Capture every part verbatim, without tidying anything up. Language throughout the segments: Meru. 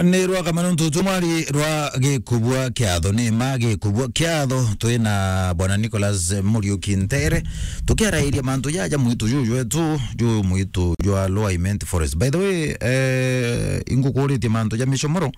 Ni rwa kamano ntutu mwari rwa gikubua kiatho, ni ma gikubua kiatho. Twina bwana Nicholas Muriuki Ntere, tukiarairia mantu jaja mwitu juju jwetu, ju mwitu jwa Lower Imenti Forest. By the way, eh, ingukuritie mantu ja micomoro,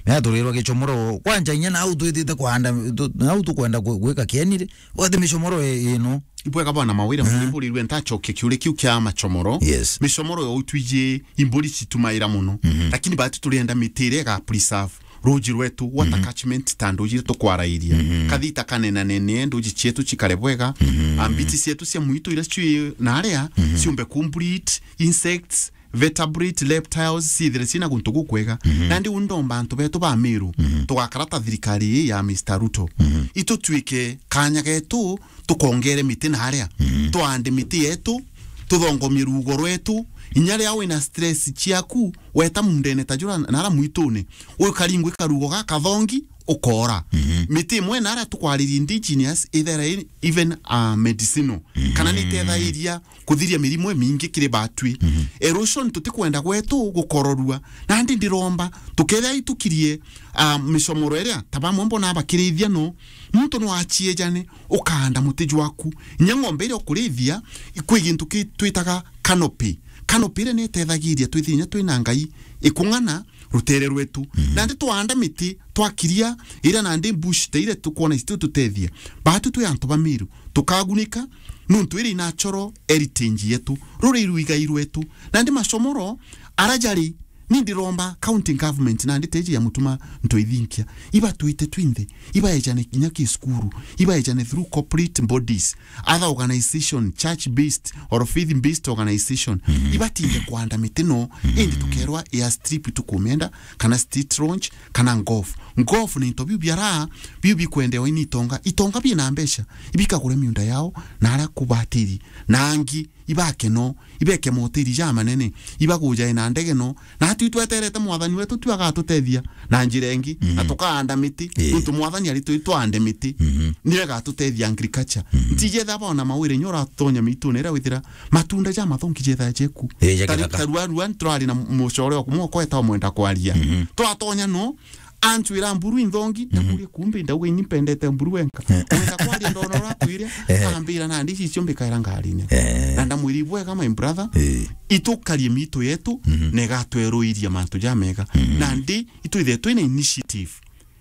mea turirwa gicomoro. Kwanja inya nau twitite kwanda, tu-, nau tukwenda gwi-, gwika kieni ri? Wati micomoro i-, ino. Ibwega bwana Mawira, mhm, mburirwe ntachokia kiuria kiu kia macomoro. Yes. Micomoro yo twiji imburi citumaira muno. Mhm. Lakini batu turienda miti iria iga preserve ruji rwetu, water, mhm, catchment ta nduji iria tukwarairia. Mhm. Kathita kanenanene, nduji cietu cikare bwega. Mhm. Ambiti cietu cia mwitu iria cii naria, mhm, ciumbe ku breed, insects, vertebrate, reptiles, ciithire cina guntu gukwega. Mhm. Nandi u ndomba antu betu ba Meru, mhm, tugakara ta thirikari ii ya Mister Ruto. Mhm. Itutwike kanya getu, tukongere miti naria. Mhm. Twande miti yetu, tuthongomie rugo rwetu. Inya ria wina stress ciaku, weta mundene ta jura nara mwitune, ukaringwe karugo gakathongi, ukora. Mhm. Miti imwe naria tukwariria indigenous, ithera i-, even, uh, medicinal. Mhm. Kana ni itethairia kuthiria mirimu imingi kiri batwi. Mhm. Erosion tutikwenda gwetu gukororua. Nandi ndiromba, tukethira itukirie, ah, micomoro iria, ta bamwe mbona bakirithia no, muntu no aciejane, ukaanda muti jwaku. Inya ng'ombe iria ukurithia, kwi gintu ki-, twitaga canopy. Canopy iria ni itethagiria twithire inya twina ngai ikung'ana rutere rwetu. Mhm. Nandi twaanda miti, twakiria iria nandi bush, ta iria tukwona ici tututethia. Batu twi antu ba Meru, tukagunika, nuntu iri natural heritage yetu, ruri iruigai rwetu. Nandi macomoro, ara jari, ni ndiromba county government, nandi teji ya Mutuma Ntoithinkia, ibatwite twinthe, ibaejane kinya ki cukuru, ibaejane through corporate bodies, other organization, church based or faith based organization, mhm, ibatinde kwanda miti no, mhm, indi tukerwa airstrip tukumenda, kana state launch, kana golf. Golf ni into biu biara, biu bikwendewa ni itonga. Itonga bina mbeca, ibikagure miunda yao, na ara kubatiri, na angi, ibake no, ibeke motiri ja manene, ibagujae na ndege no, na twi tweterete mwathani wetu tu agatutethia na njira ingi, na, mhm, tukaanda miti, ii, nuntu mwathani ari twi twande miti. Mhm. Niwe agatutethia agriculture. Mhm. Ntijetha bona Mawira inya uratonya mitune iria withira matunda ja mathongi jetha jeku. Ii, ja githaka. Tarua rua turari na mucore o kumwe okweta omwenda kwaria. Mhm. Twatonya no, antwira mburu inthongi, mhm, ndamuria kumbi ndauga ini mpendete mburu wenka. Eh. Wenda kwaria ndona uratwire, eh, ambira nandi ici cio mbikaira ngarine. Eh. Na ndamwiri bwega my brother, eh, itukarie mitu yetu, mhm, na igatweruiria mantu ja mega. Mhm. Nandi itwithe twina initiative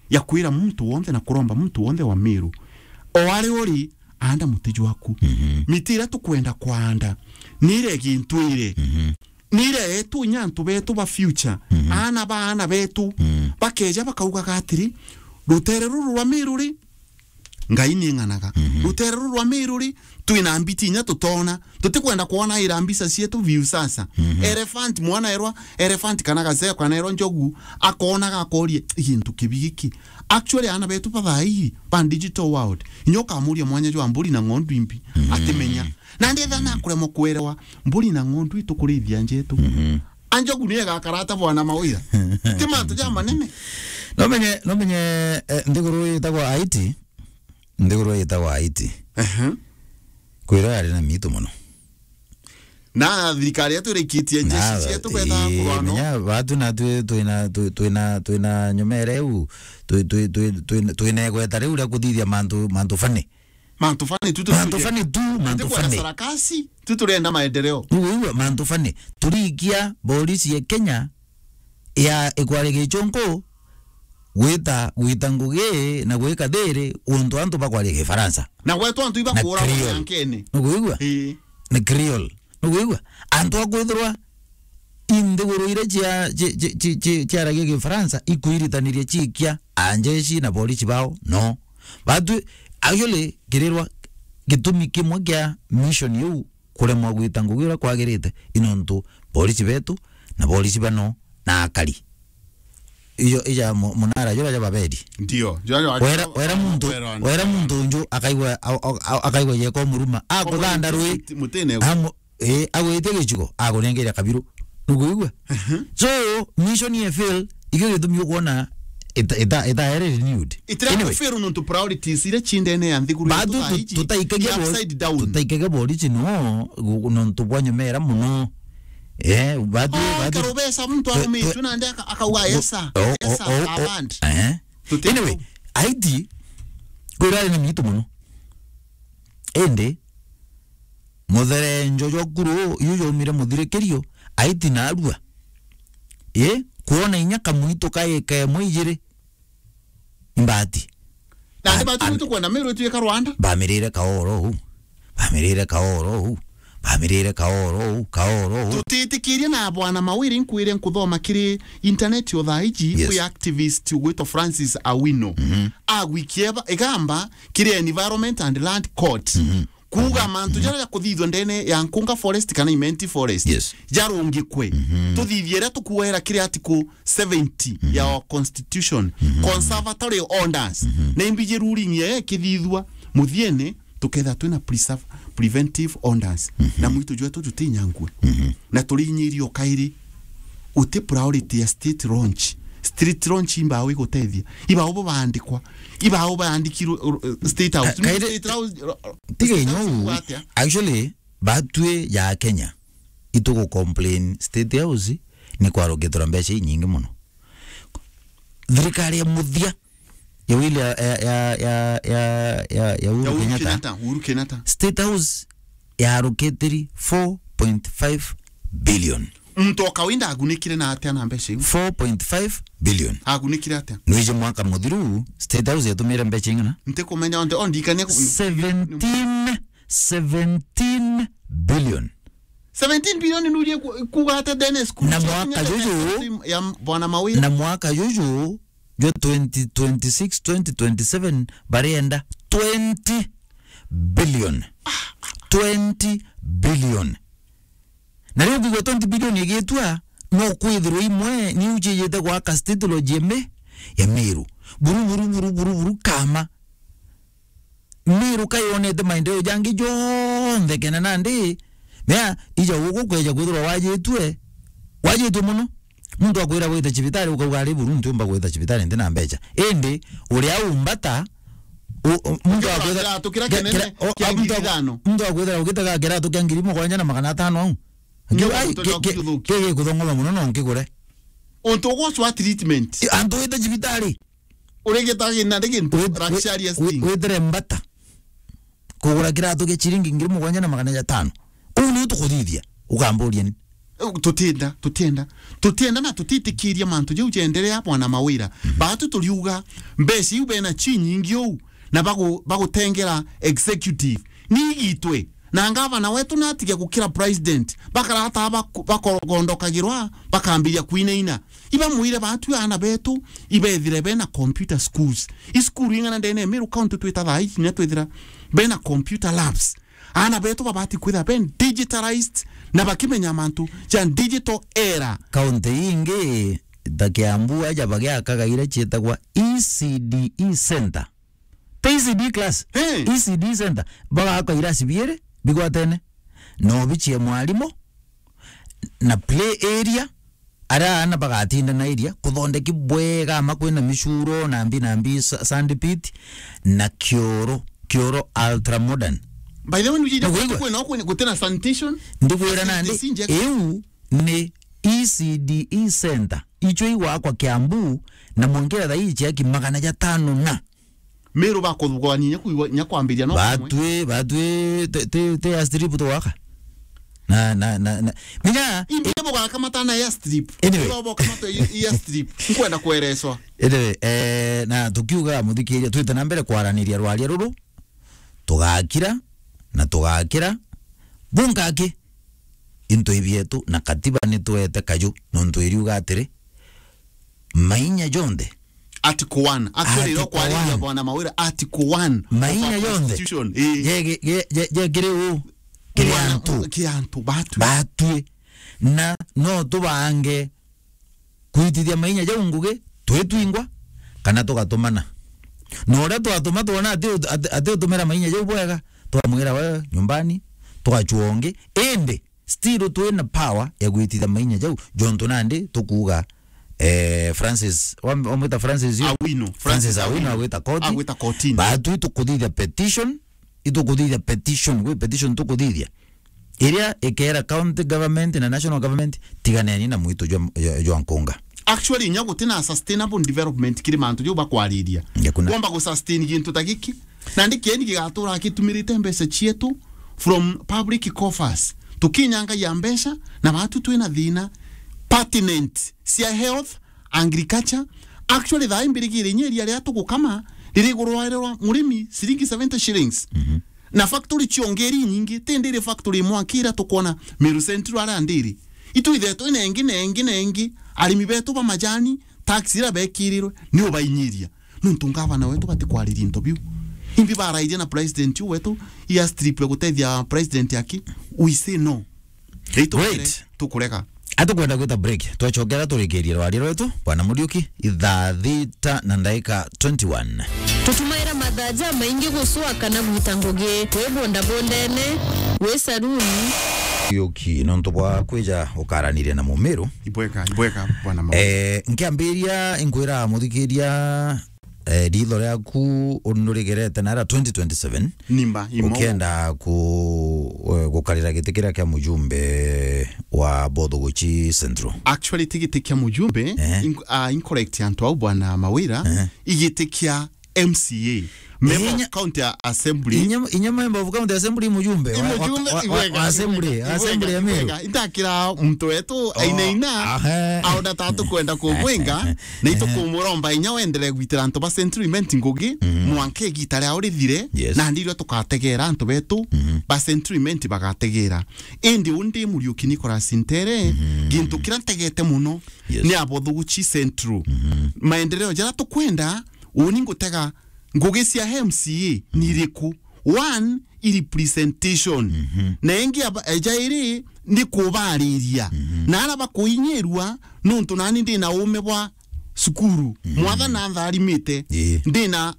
ya kwira muntu wonthe na kuromba muntu wonthe wa Meru, o ari uri, anda muti jwaku. Mhm. Miti iria tukwenda kwanda, ni iria igintwire. Mhm. Ni iria yetu inya antu betu ba future, mhm, aana ba aana betu, mhm, bakeja bakaugaga atiri, rutere ruru rwa Meru ri, Ngai ni ng'anaga. Mhm. Rutere ruru rwa Meru ri, twina mbiti inya tutona. Tutikwenda kwona ira mbica cietu view sasa. Mhm. Elephant, mwana erwa elephant kana gaceo kana erwa njogu, akonaga akoria, "Gintu kibi giki?" Actually, aana betu ba thaa ii, ba digital world, inya ukamuria mwanya jwa mburi na ng'ondu imbi, mhm, atimenya. Nandi ethira nakuremwa kwerewa, mburi na ng'ondu itukurithia njetu. Mhm. A njogu ni igakara ata bwana Mawira? Ti mantu ja manene. Nomenye, nomenye, eh, nthiguru itagwa Haiti. Nthiguru itagwa Haiti. Ehe. Kwirwa yari na mitu muno. Na thirikari yetu irikitie njeshi cietu beta kurwa no. Menya batu na twi-, twina, twi-, twina, twina nyumere u, twi-, twi-, twi-, twina, twina igweta riu ria kuthithia mantu, mantu funny. Mantu funny tu, tu, mantu funny tu, mantu funny. Sarakasi, tu turenda maendeleo. Uigua mantu funny. Turikia polisi ya Kenya ya ikwari gichungu gwita, gwita ngugi na gwika thiri untu antu bakwari Gifaransa. Na gwetu antu ibakura Creole. Mwankene. Nukuigua? Ii. Ni Creole. Nukuigua? Antu akwithirwa inthiguru iria cia, ci-, ci-, ci-, ci-, ciaragia Gifaransa ikwiritaniria ciikia anjeshi na polisi bao, no. Batu, actually, kirirwa gitumi kimwe kia mission iu kuremwa gwita ngugi uria kwagirite, i nontu polisi betu na polisi bano na akari. Ijo, ija mu-, munara jura ja Babeli. Ndio, jura ja wera, wera muntu, wera muntu unju akaigwa, a-, a-, a-, akaigwa yeko muruma. Akuganda rui. Mutine. Amu-, eh, agwite gichugo, akunengeria kabiru. Nukuigua? Mhm. So, mission ye fail, ikio gitumi ukwona ita-, ita-, itaere renewed. Itira. Anyway. Fail nontu priorities iria cindene ya nthiguru. Batu yetu tu-, thaa iji tutaikagia bo-, upside down. Tutaikagia boriji no, gu-, nontu bwa nyumera muno. Eh, batu, oh, batu. Karubesa muntu twe-, aumitwe twe-, nandi aka-, akauga, o-, "Yes, sir. O-, o-, yes, sir, o-, o-, abandi." Eh. Tuti-, anyway, Haiti, kwirari ni mitu muno. Indi, mutherenjo jwa kuru, iu jaumire muthirikirio, Haiti narua. Ii, kwona inya kamuitu ka ika imwe ijiri, imbati. Nandi ba-, batu a-, nitukwenda Meru ituike Rwanda. Bamirire kaoro uu. Bamirire kaoro uu. Bamirire kaoro uu, kaoro uu. Tutitikirie na bwana Mawiri, nkwire nkuthoma kiri internet o thaa iji, yes, kwi activist ugwitwa Francis Awino. Mhm. Agwikie ba-, igamba kiri Environment and Land Court. Mhm. Kuuga, mhm, mantu, mhm, jaria jakuthithua ndene ya Nkunga Forest kana Imenti Forest, yes, jarungikwe. Mhm. Tuthithie iria tukuera kiri article seventy, mhm, ya our constitution, mhm, conservatory orders. Mhm. Na imbi ji ruling ya ikithithua, muthiene tukethira twina preserve-, preventive orders. Mhm. Na mwitu jwetu jutinyangue. Mhm. Na turinyirio kairi, uti priority ya state launch. State launch imbao igutethia. Ibao bo baandikwa. Ibao baandikirwe, uh, uh, State House. Ka-, kairi, State House, uh, uh, tiga State House inyu, igwa atia? Actually, batwi ja Kenya, itugu complain State House ni kwarukitwe na mbeca inyingi muno. Thirikari ya muthia ya William, ya, ya, ya, ya, ya, ya Uhuru, ya Uhuru Kenyatta. Kenyatta, Uhuru Kenyatta. State House yarukitiri four point five billion. Muntu o kawaida agunikire na atia na mbeca iu? Four point five billion. Agunikire atia? Nwiji mwaka muthiru, State House yatumire mbeca ing'ana? Ntikumenya, onde, o ndikania ku-, seventeen, seventeen billion. Seventeen billion nurie ku-, kuuga atia, Dennis? Ku-, na mwaka juju, ya bwana Mawira. Na mwaka juju, jwa twenty twenty-six, twenty twenty-seven, barienda twenty billion. Twenty billion. Na riu ngigua twenty billion igitua, no kwithirwa imwe ni ujijite gwaka State Lodge ya Me-, ya Meru. Buru, buru, buru, buru, buru, kama. Meru kayonete maendeleo jangi jonthe kena nandi, mea, ija guku kweja kwithirwa wajitue, wajitue muno. Muntu akwira gwita cibitari, ukauga, "Ari buru, ntiumba gwita cibitari, ntina mbeca." Indi, uria umbata, u-, u-, muntu akwira kiratu kiria kinene kia ngiri ithano. Muntu akwira ugitaga kiratu kia ngiri mugwanja na magana atano au. Ndio, ai, muntu ke-, ke-, ndio ke-, gikuthongoma muno no nkigure. Untu ugwacwa treatment. I-, antu wita cibitari. Urigitaga na ndi gintu luxurious thing. Witire mbata. Kugura kiratu kia ciringi ngiri mugwanja na magana jatano. Uu niu tukuthithia, ukamburia ni? Eh, tutienda, tutienda. Tutienda na tutitikiria mantu jau jenderea, bwana Mawira. Mhm. Batu turiuga, mbeca iu bena chi nyingi uu, na bagu-, bagutengera executive. Ni igitwe. Na ngavana wetu natige gukira president. Bakarata baku-, bakogondokagirwa, bakambiria kwinaina. Ibamwire batu aana betu, ibethire bena computer schools. I school ing'ana ndene ya Meru County twita thaa ici, na twithira bena computer labs. Aana betu babati kwithira ben digitalized na bakimenya mantu ja digital era. County ingi ta Kiambu aja bagiakaga iria cietagwa E C D E center. T C D class. Eh. E C D center. Bagakwa irasi biere bigwatene. Na obichi ya mwalimu na play area. Aria aana bagatinda na area kuthondeki bwega, ama kwina micuro, na mbi, na mbi, sa-, sand pit, na kioro, kioro ultra modern. By the way, nujija kwina, kwina, gutina sanitation. Ndikwira nandi, iu ni E C D E center. Icho igwakwa Kiambu, na mwankira thaa ii ciaki magana jatano na Meru bakuthugania nya kwigua, nya kwambiria no kumwe. Batwi, batwi, te, te, te airstrip twaka. Na, na, na, na. Menya, imbi bugaka matana airstrip. Anyway. Ibo boka mato i-, airstrip. Nkwenda kwereswa. Anyway, eh, na tukiuga muthikiria, twite na mbere kwaraniria rwaria ruru, tugakira, na tugakira. Bunkaki, into ibietu, na katiba nitwete kaju, nontu iriuga atiri, mainya jonthe. Article one. Actually, Article iro kwariria one. Bwana Mawira, Article one of our constitution. Mainya jonthe. Ii. Jege-, je-, je-, jekire u. Kiri antu. Kiri antu, batwi. Batwi. Na no tubange kwitithia mainya jau ngugi, twitwingwa, kana tugatumana. Na uria twatuma twona ati ut-, ati, ati utumira mainya jau bwega, twamwira we nyumbani, twachua ungi. Indi, still twina power ya gwitithia mainya jau, jontu nandi tukuuga, eh, Francis, wam-, wamwita Francis yu? Awino. Francis Francis Awino Awino. Agwita koti. Agwita kotini. Batwi tukuthithia petition, itukuthithia petition, gwi petition tukuthithia. iria ikera county government na national government, tiganeni na mwitu jwa, jwa, jwa nkunga. Actually, inya guti na sustainable development kiri mantu jau bakwariria. Nge kuna. Kwamba gu sustain gintu ta giki, na ndi kieni gigatura gitumirite mbeca cietu from public coffers. Tukinyangagia mbeca, na batu twina thina pertinent cia health, agriculture. Actually, thaa imbirigire inya iria ria tugukama, ririgurwa murimi ciringi seventy shillings. Mhm. Na factory cionge iri nyingi, ti ndiri factory imwe aki iria tukwona Meru Central aria ndiri. Itu ithetwe na ingi, na ingi, na ingi, arimi betu ba majani, tax iria bekirirwe, ni ubainyiria. Nuntu ngavana wetu batikwariria into biu. Imbi barairie na president u wetu, ia strip ya gutethia president aki, we say no. Ri tukurega. Great. Tukurega. Atukwenda gwita break, twacokera turikirie rwaria rwetu, Bwana Muriuki, ithaa thita na ndaika twenty-one. Tutumaira mathaa jamaingi gucua kana gwita ngugi, wi bondabondene, wi saruni. Muriuki, nontu bwa kwija ukaraniria na Mumiru. Ibwega, ibwega, Bwana Muriuki. Eh, nkiambiria inkwira muthikiria, eh, ritho riaku unurigerete nara twenty twenty-seven. Nimba, imo. Ukienda ku-, eh, gukarira giti kiria kia mujumbe wa Bothuguchi Central. Actually, ti giti kia mujumbe, ehe, inc-, ah, incorrect antu au, Bwana Mawira, ehe, igiti kia M C A. Member of County Assembly. Inya, inya member of County Assembly, mujumbe wa, wa, mujumbe, wa, wa, ibwega, wa Assembly, ibwega, Assembly ya Meru. Ibwega. Intakira muntu wetu, oh, ainaina, ahe, aona ta tukwenda kumwenga, na itukumuromba inya wendere gwitira antu ba Central Imenti ngugi, mhm, mwanka igita riao rithire, yes, na ndirio tukategera antu betu, mhm, ba Central Imenti bagategera. Indi undi Muriuki Nicholas Ntere, mhm, gintu kiria ntegete muno, yes, ni Abothuguchi Central. Mhm. Maendeleo jaria tukwenda, uni ngutega ngugi cia M C A ni iriku? One, i representation. Mhm. Na ingi aba-, eja iri ni kubariria. Mhm. Na ara bakuinyirua, nuntu nani ndi na uume bwa cukuru. Mhm. Mwathani antharimite. Ii. Ndi na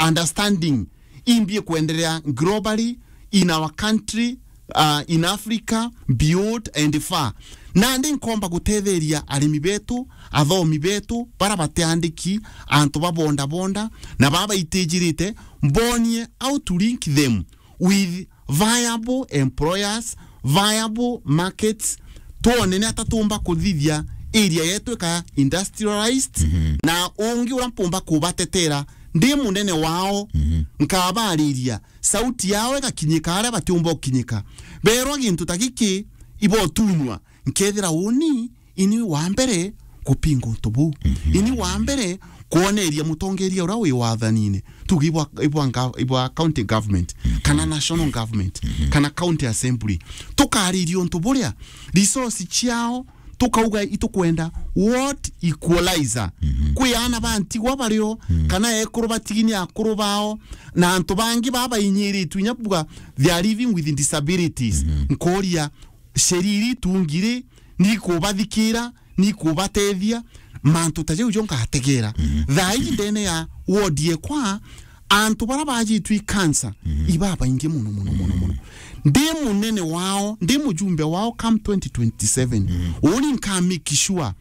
understanding. Imbi ikwenderea globally, in our country, uh, in Africa, beyond and far. Nandi nkomba gutetheria arimi betu, athomi betu, bara batiandiki, antu ba bondabonda, na baba baitijirite, mbonie how to link them with viable employers, viable markets, twone ni ata tumba kuthithia area yetu ika industrialized, mhm, na ungi ura mpumba kubatetera ndi munene wao, mhm, nkabariria sauti yao igakinyika aria batiumba gukinyika. Berwa gintu ta giki ibotunywa, nkethira uni ini wa mbere kupinga untu buu. Mhm. Ini wa mbere kwoneria mutongeria uria wi wathanine, tuge ibwa, ibwa nga-, ibwa county government, mhm, kana national government, mhm, kana county assembly. Tukariria untu buria resource ciao, tukauga itukwenda what equalizer. Mhm. Kwi ana ba ntigwa bario, mhm, kana ekuru batigi ni akuru bao, na antu bangi babainyiritu inya buga they are living with disabilities. Mhm. Nkoria, sheria iri itungiri, ni kubathikira, ni kubatethia, mantu ta jau jo ngategera. Mhm. Thaa iji ndene ya ward yekwa, antu bara bajitwi cancer, mhm, ibabaingi muno, muno, muno, muno. Ndi munene wao, ndi mujumbe wao come twenty twenty-seven. Mhm. Uni nka make sure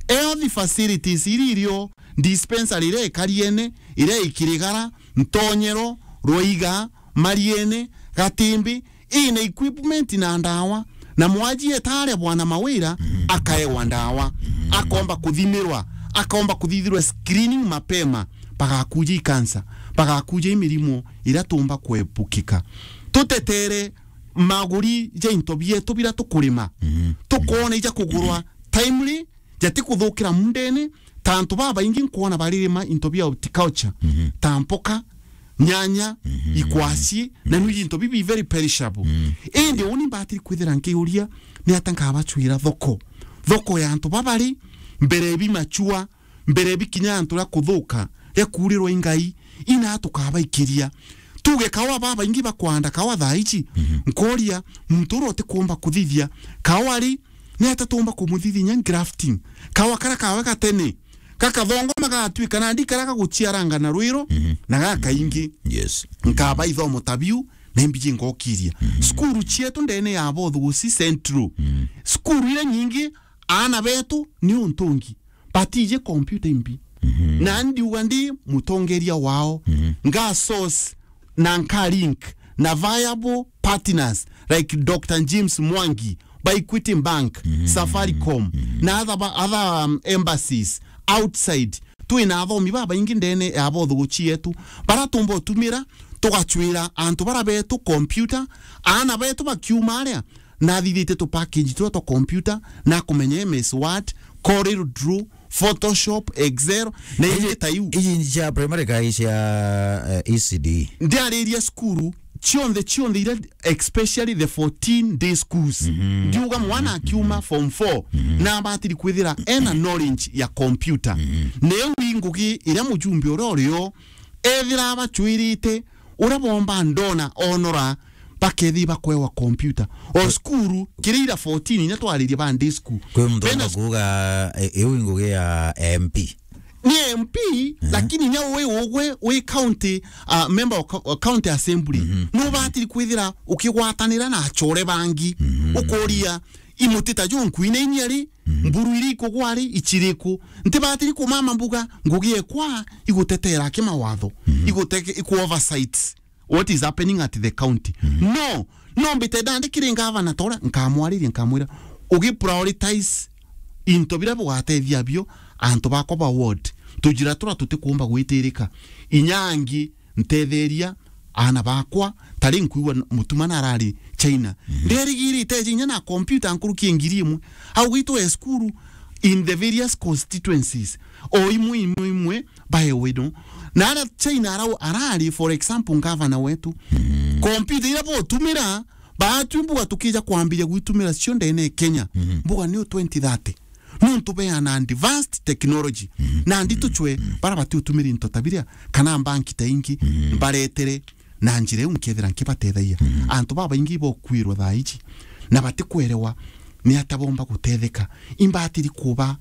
health facilities iri irio, dispensary iria ikariene, iria ikirigara, Ntonyero, Rwaiga, Mariene, Gatimbi, ina equipment na ndawa, na mwaji etaria Bwana Mawira, mhm, akaewa ndawa, mhm, akomba kuthimirwa, akomba kuthithirwa screening mapema, bagakuja i cancer, bagakuja i mirimo iria tumba kuepukika. Tutetere maguri ja into bietu bira tukurima, mhm, tukone ija kugurwa timely, jatikuthukira mundene, ta antu babaingi nkwona baririma into bia horticulture, mhm, ta mpoka, nyanya, mhm, ikwasi, na, mhm, nu into bibi very perishable. Mhm. Indi uni mbatiri kwithira nkiuria, ni ata nkabacwira thoko? Thoko ya antu babari, mbere bimachua, mbere bikinya antu ria kuthuka, ria kuurirwa i Ngai, ina tukabaikiria. Tuge kawa babaingi bakwanda kawa thaa ici, mhm, nkoria, muntu uria utikumba kuthithia kawa ri, ni ata tumba kumuthithia inya grafting? Kawa kara kawe gatene, gakathongoma gagatuika nandi kara gaguciaranga na rwiro, mhm, na gakaingi. Yes. Nkaba ithomo ta biu, na imbiji ngokiria. Mhm. Cukuru cietu ndene ya Bothuguchi Central. Mhm. Cukuru iria nyingi, aana betu ni untungi. Batiji computer imbi. Mhm. Na ndiuga ndi mutongeria wao. Mhm. Nga source na nka link na viable partners like Doctor James Mwangi ba Equity Bank, Safaricom, na other ba-, other, um, embassies outside. Twina athomi babaingi ndene ya bothuguchi yetu, bara tumba utumira, tugacwira antu bara betu computer, aana betu bakiuma aria, nathithitie tu package turia twa computer, na kumenya M S Word, Corel Draw, Photoshop, Excel, na ingi ta iu. Iji ni cia primary kai cia, eh, E C D? Ndiariria cukuru cionthe, cionthe iria, especially the fourteen day schools. Ndiuga mwana akiuma form four, na abatiri kwithira ena knowledge ya computer. Neu i ngugi iria mujumbe uria urio ethira abacwirite, uria bomba ndona onora, bakethi bakwewa computer. O cukuru, kiria ira fourteen, inya twaririe ba day school. Kwi muntu bena akuuga, e, iu i ngugi ya M P. Ni M P, lakini inya wi ugwe, wi county, uh, member of co-, county assembly. Nubatiri kwithira ukigwatanira na achore bangi. Ukuria, imutita jo nkuine inya ri, mburu iri ikugwa ri, ichiriku. Ntibatiri kumama mbuga, ngugi ekwa igutetera kimawatho, iguteke-, iku oversight what is happening at the county. No, no mbite ndandikire ngavana tora, nkamwariria, nkamwira, ugi prioritize into bira bugatethia bio antu bakwa ba ward. Tujira tura tutikuumba gwitirika. Inya angi ntetheria aana bakwa, tari nkuigua n-, mutuma narari China. Nderigirite inya na computer nkuruki ngiri imwe. Au gwitwe cukuru in the various constituencies. O imwe, imwe, imwe, baewe no. Na ara China arau arari, for example, ngavana wetu. Computer ira botumira, batu mbuga tukija kwambiria gwitumira cio ndene Kenya. Mbuga niu twenty thirty. Nuntu beana advanced technology. Na ndi tuchwe bara bati utumiri into ta biria, kana banki ta ingi, mbaretere na njira iu nkethira nkibatethagia. Antu babaingi bokwirwa thaa iji, na batikwerewa ni ata bomba gutetheka. Imbatiri kuba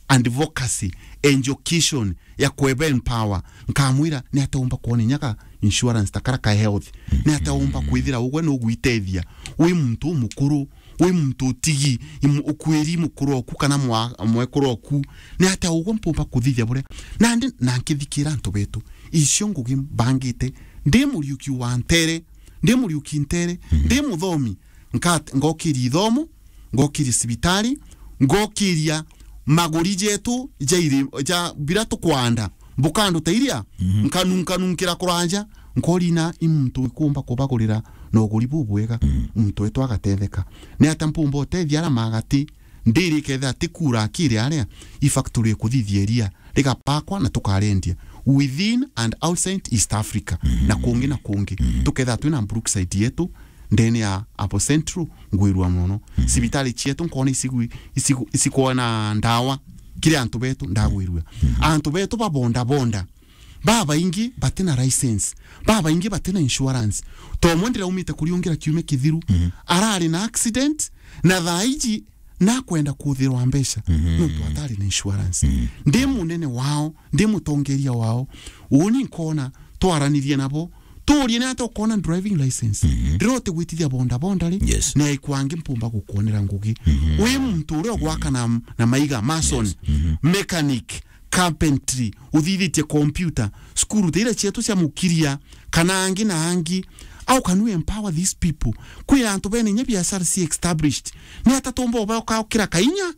advocacy, education ya kweba empower. Nkamwira, ni ata umba kwona inya ka insurance ta kara ka health? Ni ata umba kwithira ugwe nugwitethia? Wi muntu umukuru, wi muntu utigi, imu-, ukwiri mukuru oku kana mwa-, mwekuru oku? Ni ata ugwe mpumba kuthithia buria? Nandi na nkithikira antu betu, icio ngugi mbangite, ndi muriuki wa ntere, ndi muriuki ntere, ndi muthomi, nkat-, ngokiria ithomo, ngokiria cibitari, ngokiria maguri jetu ja iri-, ja bira tukwanda, mbukandu ta iria, nkanu-, nkanunkira kuraja, nkorina i muntu ikumba kubagurira na uguri bubwega, muntu wetu agatetheka. Ni ata mpumba utethia ara magati, ndiri kethira tikura akiri aria, i factory ikuthithia iria, rigapakwa na tukarendia within and outside East Africa, na kungi na kungi. Tukethira twina Brookside yetu, ndene ya Apo Central, ngwirua mono. Cibitari cietu nkona isigu-, isigu-, isikwona ndawa, kiri antu betu ndagwirua. Antu betu ba bonda bonda, babaingi batina license, babaingi batina insurance. Tomwe ndiraumite kuriungira kiumia kithiru, arari na accident, na thaa iji nakwenda kuthirwa mbeca, nontu atari na insurance. Ndi munene wao, ndi mutongeria wao, uni nkona twaranirie nabo, turie ni ata ukona driving license. Ndirote gwitithia bonda bonda ri, yes, na ikwangi mpumba gukwonera ngugi. Wi muntu uria ugwaka na, na maiga, mason, yes, mechanic, carpentry, uthithitie computer, cukuru ta iria cietu cia mukiria, kana angi na angi. How can we empower these people? Kwi antu bene inya biashara ci established. Ni ata tumba ubaukira kainya,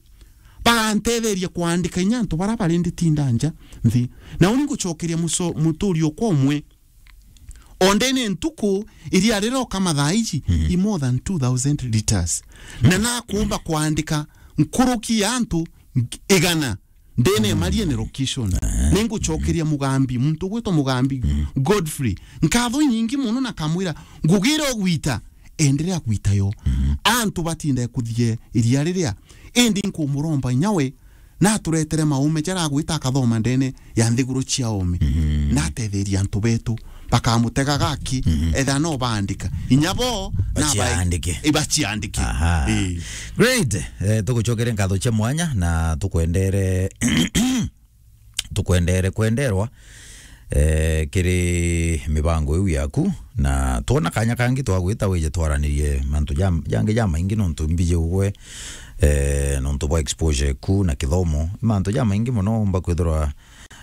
bagantetheria kwandika inya antu bara bari nditinda nja nthi. Na uni ngucokeria muso-, muturi okwa umwe. Ondene ntuku iria riroka mathaa iji, i more than two thousand liters. Na nakumba kwandika nkuruki ya antu igana ndene Maria ni location. Ningucokeria Mugambi, muntu ugwitwa Mugambi Godfrey, nkatho inyingi muno, na kamwira, ngugi iria ugwita, enderea gwita yo. Antu batinda kuthie iria riria, indi nkumuromba inya we naturetere maume jaria agwita akathoma ndene ya nthiguru cia oome. Natetheria antu betu, bakamutega gaki, etha no baandika. Inya bo, na bae-, baciandike. Ibaciandike. Aha. Ii. Great. Eh, tugucokere nkatho cia mwanya na tukwendere, tukwendere kwenderwa, eh, kiri mibango iu yaku, na twona kanya kangi twagwita wije twaranirie mantu jam-, jangi jamaingi, nontu mbiji ugwe, eh, nontu bwa exposure ku na kithomo. Mantu jamaingi muno umba kwithirwa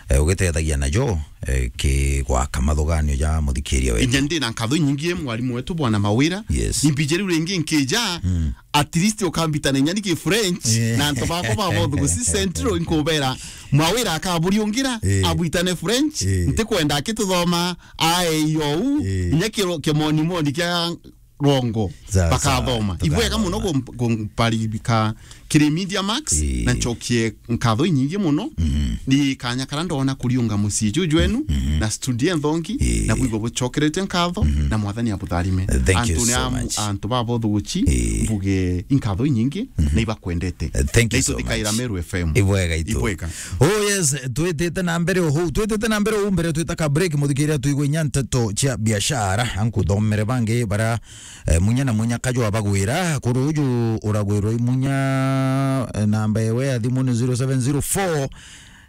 eh, ugitethagia najo, eh, ki gwaka mathuganio ja muthikiria wetu. Inya ndi na nkatho inyingi mwarimu wetu Bwana Mawira. Yes. Imbije riu ringi nkija, mm, at least ukambitana inya ni ki French, yeah, na antu bakwa ba bothu gusi Central nkubera Mawira akaburiungira, yeah, abwitane French, yeah, ntikwenda akituthoma ae iou, yeah, inya kiro kimonimoni kia rongo. Sawa, bakathoma. Sawa, ibwega muno tukathoma. Kum-, kumparibika kiri Media Max, ii, na ncokie nkatho inyingi muno. Mm. Ni kanya kara ndona kuriunga mucii juju jwenu, mhm, na studio nthongi, ii, na bwigo bucokerete nkatho, mhm, na Mwathani abutharime. Thank you so much. Antu ni am-, antu ba bothuguchi, ii, mbuge inkatho inyingi, mhm, na ibakwendete. Thank you so much. Na ituthikaira Meru F M. Ibwega itu. Ibwega. Oh yes, twitite na mbere uhu, twitite na mbere uhu mbere twita ka break, muthikiria tuigwe inya nteto cia biashara, ankuthomere bangi bara, eh, munya na munya kajwa bagwira, kuru uju uragwirwa imunya, eh, namba ewe ya thimu ni zero seven zero four,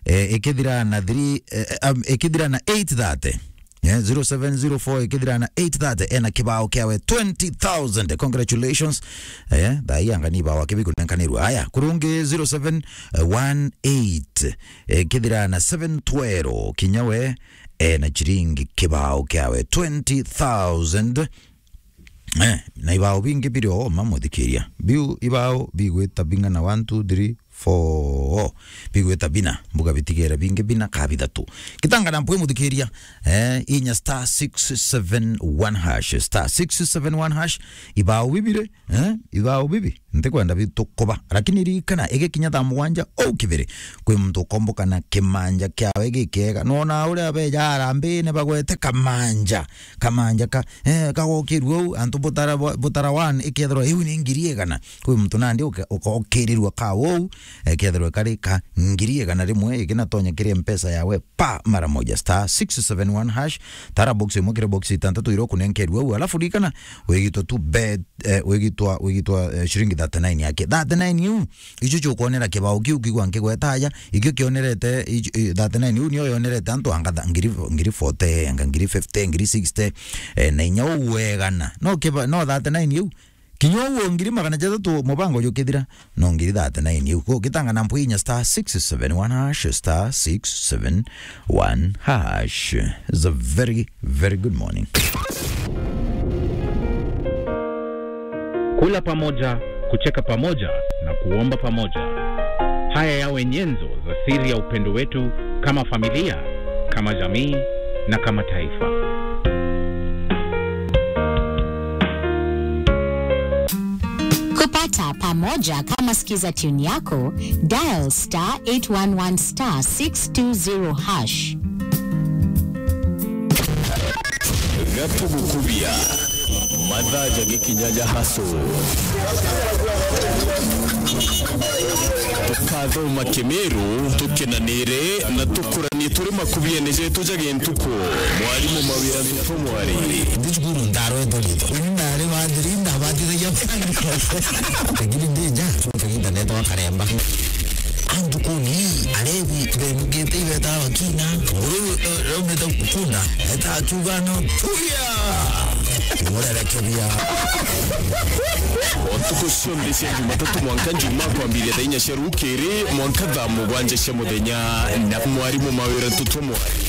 eh, ikithira na three, eh, um, ikithira na eight thirty. Eh, zero seven zero four ikithira na eight thirty, ena kibao kiawe twenty thousand. Congratulations. Eh, thaa ii anga ni ibao akibi kunenkanirwa. Aya, kurungi zero seven one eight, eh, ikithira na seven twelve, kinya we, ena chiringi kibao kiawe twenty thousand. Eh, na ibao bingi biri o ma muthikiria. Biu ibao bigwita bing'ana, one, two, three, four. Bigwita bina, mbuga bitigere bingi bina ka bithatu. Gitanga na mpwi muthikiria, eh, inya star six seven one hash, star six seven one hash, ibao bibire, eh, ibao bibi. Ntikwenda bitukuba, lakini ririkana, igikinya thaa mugwanja au kibiri, kwi muntu ukomboka na kimanja kiawe gikiega. Nona uria beja arambine bagwete kamanja, kamanja ka, eh, kagokirua u, antu butara, butara one, ikethirwa iu ni ngiri igana. Kwi muntu nandi uke-, ukokirirua ka uu, eh, kethirwa kari ka ngiri igana rimwe, ikinatonya kiri mpesa yawe pa mara moja, star six seven one hash, tara box imwe kiri box itantatu iria ukunenkerua u, alafu ririkana, wigitwa tu bet, eh, wigitwa, wigitwa, eh, shiringi thirty-nine yake. Thirty-nine iu, icio ciukwonera kibao kiu kigwa nkigweta aja, ikio kionerete, icio, eh, thirty-nine iu nio yonerete antu anga tha-, ngiri, ngiri forty, anga ngiri fifty, ngiri sixty, eh, na inya uu wegana. No kiba-, no thirty-nine iu, kinya uu ngiri magana jathatu mubango jukithira, no ngiri thirty-nine iu. Ko gitanga na mpwi inya star six seven one hash, star six seven one hash. It's a very, very good morning. Kula pamoja, kucheka pamoja na kuomba pamoja. Haya yawe nyenzo za siri ya upendo wetu kama familia, kama jamii na kama taifa. Kupata pamoja kama Skiza tune yako, dial star eight one one star six two zero hash. Gatugukubia. Mathaa ja gikinya ja haso. Tukathoma Kimiru, tukenanire na tukuranie turi makubiene jetu ja gintuku. Mwarimu Mawira Ntutu Mwari. Ndi cukuru ndarwetwo ritho. Uni ndari wa thiri, ndabatithagia. Lakini ndi nja, cukuru internet wa karemba. Antu kuni, arebi, bemugite ibeta bakina. Nguru, eh, raumite kunda. Eta akiuga no, tuya! Murerekeria. O ntuku cionthe cia Jumatatu mwanka Njumaa kwambiria thaa inya cia rukiri mwanka thaa mugwanja cia muthenya na mwarimu Mawira Ntutu Mwari.